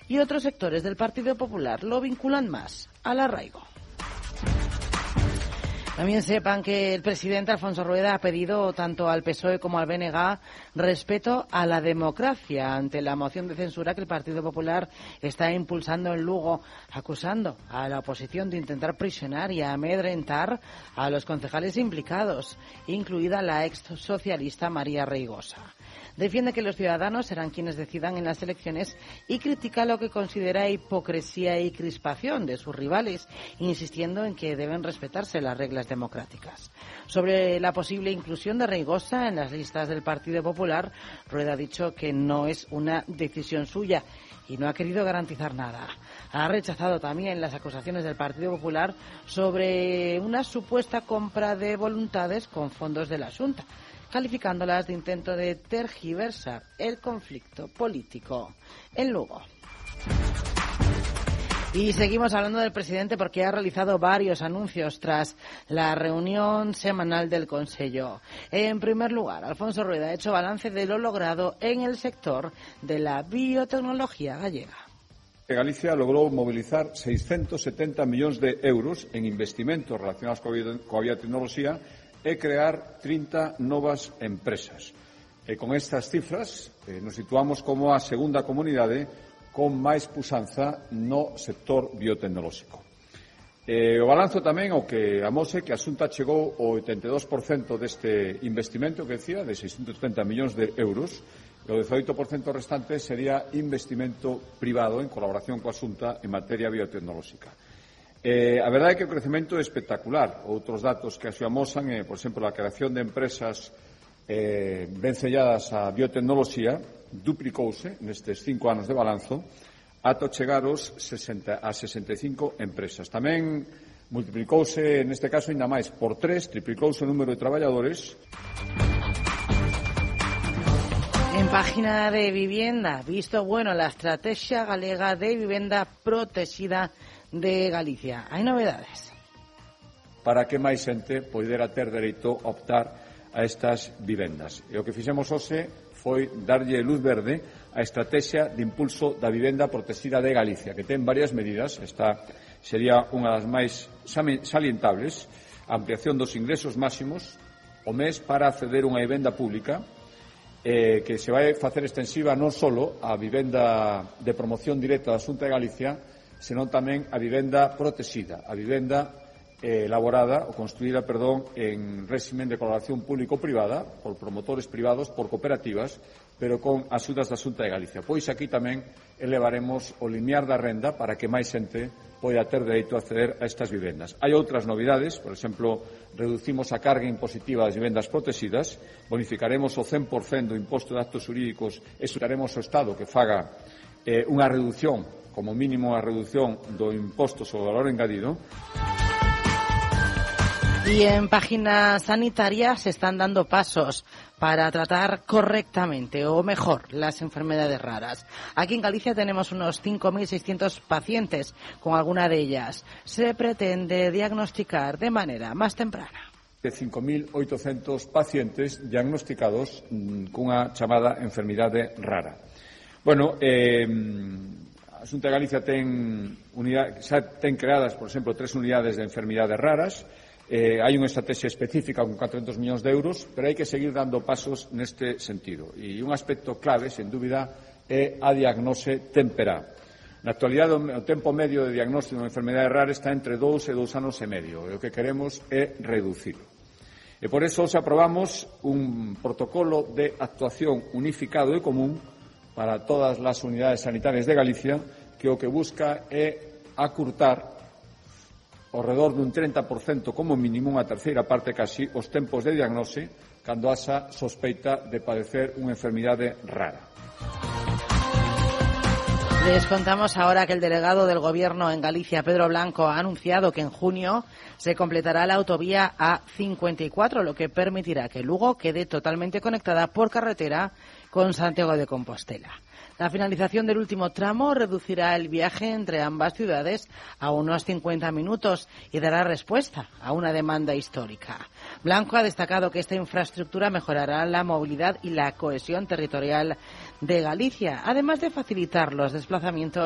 y otros sectores del Partido Popular lo vinculan más al arraigo. También sepan que el presidente Alfonso Rueda ha pedido tanto al PSOE como al BNG respeto a la democracia ante la moción de censura que el Partido Popular está impulsando en Lugo, acusando a la oposición de intentar prisionar y amedrentar a los concejales implicados, incluida la ex socialista María Reigosa. Defiende que los ciudadanos serán quienes decidan en las elecciones y critica lo que considera hipocresía y crispación de sus rivales, insistiendo en que deben respetarse las reglas democráticas. Sobre la posible inclusión de Reigosa en las listas del Partido Popular, Rueda ha dicho que no es una decisión suya y no ha querido garantizar nada. Ha rechazado también las acusaciones del Partido Popular sobre una supuesta compra de voluntades con fondos de la Xunta, calificándolas de intento de tergiversar el conflicto político en Lugo. Y seguimos hablando del presidente porque ha realizado varios anuncios tras la reunión semanal del Consello. En primer lugar, Alfonso Rueda ha hecho balance de lo logrado en el sector de la biotecnología gallega. Galicia logrou mobilizar 670 millóns de euros en investimentos relacionados coa biotecnoloxía e crear 30 novas empresas. Con estas cifras nos situamos como a segunda comunidade con máis puxanza no sector biotecnolóxico. O balanzo tamén o que amose que a Xunta chegou ao 82% deste investimento que decía, de 670 millóns de euros, e o 18% restante sería investimento privado en colaboración coa Xunta en materia biotecnolóxica. A verdade é que o crecemento é espectacular. Outros datos que así amosan é, por exemplo, a creación de empresas ben selladas á biotecnoloxía duplicouse nestes 5 anos de balanzo ata chegar a 65 empresas. Tamén multiplicouse, neste caso, ainda máis, por 3, triplicouse o número de traballadores. En página de vivienda, visto bueno la estrategia galega de vivienda protegida de Galicia. Hai novedades. Para que máis xente poidera ter dereito a optar a estas vivendas. E o que fixemos hoxe foi darlle luz verde á estrategia de impulso da vivenda protegida de Galicia, que ten varias medidas. Esta sería unha das máis salientables, a ampliación dos ingresos máximos o mes para acceder a unha vivenda pública, que se vai facer extensiva non só a vivenda de promoción directa da Xunta de Galicia, senón tamén a vivenda protegida, a vivenda elaborada ou construída, en réximen de colaboración público-privada por promotores privados, por cooperativas, pero con axudas da Xunta de Galicia. Pois aquí tamén elevaremos o limiar da renda para que máis xente poida ter dereito a acceder a estas vivendas. Hai outras novidades, por exemplo, reducimos a carga impositiva das vivendas protegidas, bonificaremos o 100% do imposto de actos xurídicos e suxaremos ao Estado que faga unha reducción, como mínimo a reducción do imposto sobre o valor engadido. Y en página sanitaria se están dando pasos para tratar correctamente o mejor las enfermedades raras. Aquí en Galicia tenemos unos 5.600 pacientes con alguna de ellas. Se pretende diagnosticar de manera más temprana. De 5.800 pacientes diagnosticados cunha chamada enfermidade rara. Bueno, a Xunta de Galicia xa ten creadas, por exemplo, 3 unidades de enfermidades raras. Hai unha estrategia específica con 400 millóns de euros, pero hai que seguir dando pasos neste sentido. E un aspecto clave, sen dúbida, é a diagnose temperá. Na actualidade, o tempo medio de diagnóstico de unha enfermedade rara está entre 2 e 2 anos e medio. E o que queremos é reducilo. E por eso aprobamos un protocolo de actuación unificado e común para todas as unidades sanitarias de Galicia, que o que busca é acurtar ao redor dun 30% como mínimo, unha terceira parte casi, os tempos de diagnose cando haxa sospeita de padecer unha enfermidade rara. Les contamos ahora que el delegado del Gobierno en Galicia, Pedro Blanco, ha anunciado que en junio se completará la autovía A54, lo que permitirá que Lugo quede totalmente conectada por carretera con Santiago de Compostela. La finalización del último tramo reducirá el viaje entre ambas ciudades a unos 50 minutos y dará respuesta a una demanda histórica. Blanco ha destacado que esta infraestructura mejorará la movilidad y la cohesión territorial de Galicia, además de facilitar los desplazamientos